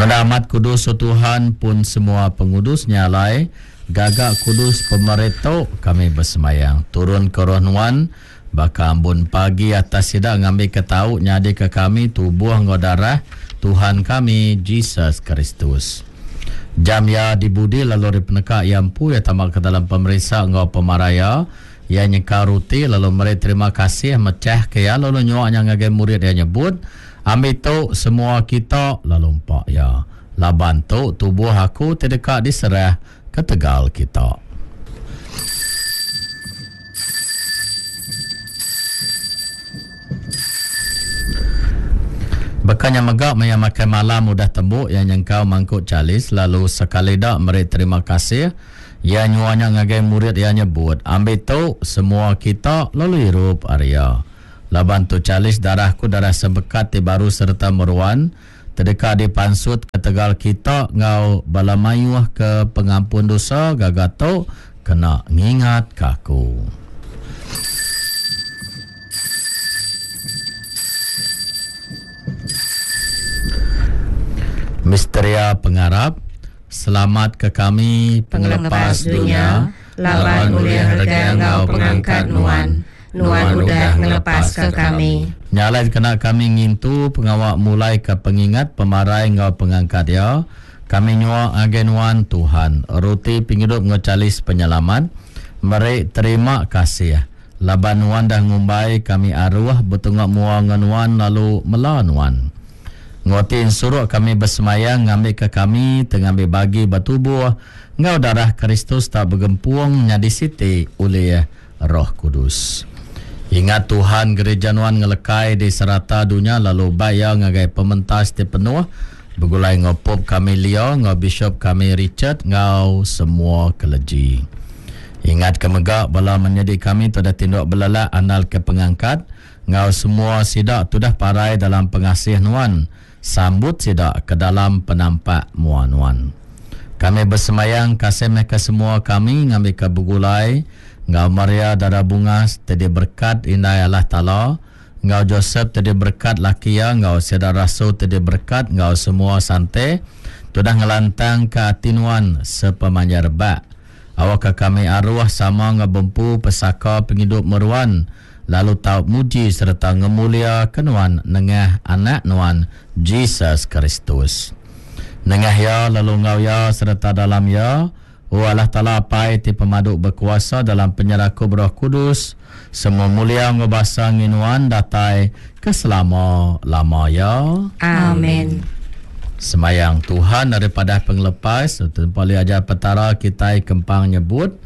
Ngena amat kudus o Tuhan pun semua pengudus nya alai gaga kudus pemeri tu kami besemayang turun ke roh nuan baka ambun pagi atas sida ngambika tau nyadika kami tubuh enggau darah Tuhan kami Jesus Kristus. Jam iya dibudi lalu ari peneka iya empu iya tama ke dalam pemerinsa enggau pemarah iya. Iya nyekal ruti lalu meri terima kasih mechahka iya lalu nyua nya ngagai murid iya nyebut, Ambi tu semua kita lalu empa iya, laban tu tubuh aku ti deka diserah ketegal kita. Baka nya mega maya makai malam udah tembu iya nyengkau mangkuk chalis lalu sekali da meri terima kasih iya nyua nya ngagai murid iya nyebut, Ambi tu semua kita lalu irup ari iya. Laban tu chalis darah ku darah sempekat ti baru sereta meruan, ti deka dipansut ketegal kita enggau bala mayuh ke pengampun dosa gaga tu kena ngingatka aku. Misteria Pengarap, Selamatka kami, Pengelepas dunya, laban ulih rega enggau pengangkat Nuan. Nuan udah ngelepaska kami. Nya alai dikena kami ngintu pengawa mulaika pengingat pemarai enggau pengangkat Iya, kami nyua ngagai Nuan, Tuhan, ruti pengidup enggau chalis penyelamat, meri terima kasih, laban Nuan dah ngumbai kami aruh betunga mua enggau Nuan lalu mela Nuan. Enggau ti ensuruk kami besemayang ngambika kami ti ngambi bagi ba tubuh enggau darah Kristus tau begempung nyadi siti ulih Roh Kudus. Ingat Tuhan gereja nuan ngelekai di serata dunya lalu bai iya ngagai pementas ti penuh begulai enggau Pope kami Leo enggau Bishop kami Richard enggau semua keleji. Ingat ke mega bala menyadi kami ti udah tinduk belelak andal ke pengangkat enggau semua sida tudah parai dalam pengasih nuan sambut sida ke dalam penampak mua nuan. Kami besembayang kasih meh ke semua kami ngambika begulai enggau Maria Dara Bungas ti diberekat Indai Allah Taala, enggau Josep ti diberekat laki iya enggau sida rasul ti diberekat enggau semua sante tudah ngelantangka ati nuan sepemanjai rebak. Awakka kami aruh sama enggau bempu pesaka pengidup meruan lalu tau muji sereta ngemuliaka nuan nengah Anak nuan, Jesus Kristus. Nengah Iya, lalu enggau Iya sereta dalam Iya, O Allah Taala Apai ti Pemadu Bekuasa dalam penyerakup Roh Kudus, semua mulia enggau basa ngi nuan datai ke selama-lama iya. Amen. Semayang Tuhan ari padah pengelepas, Tempa li ajar Petara kitai kempang nyebut.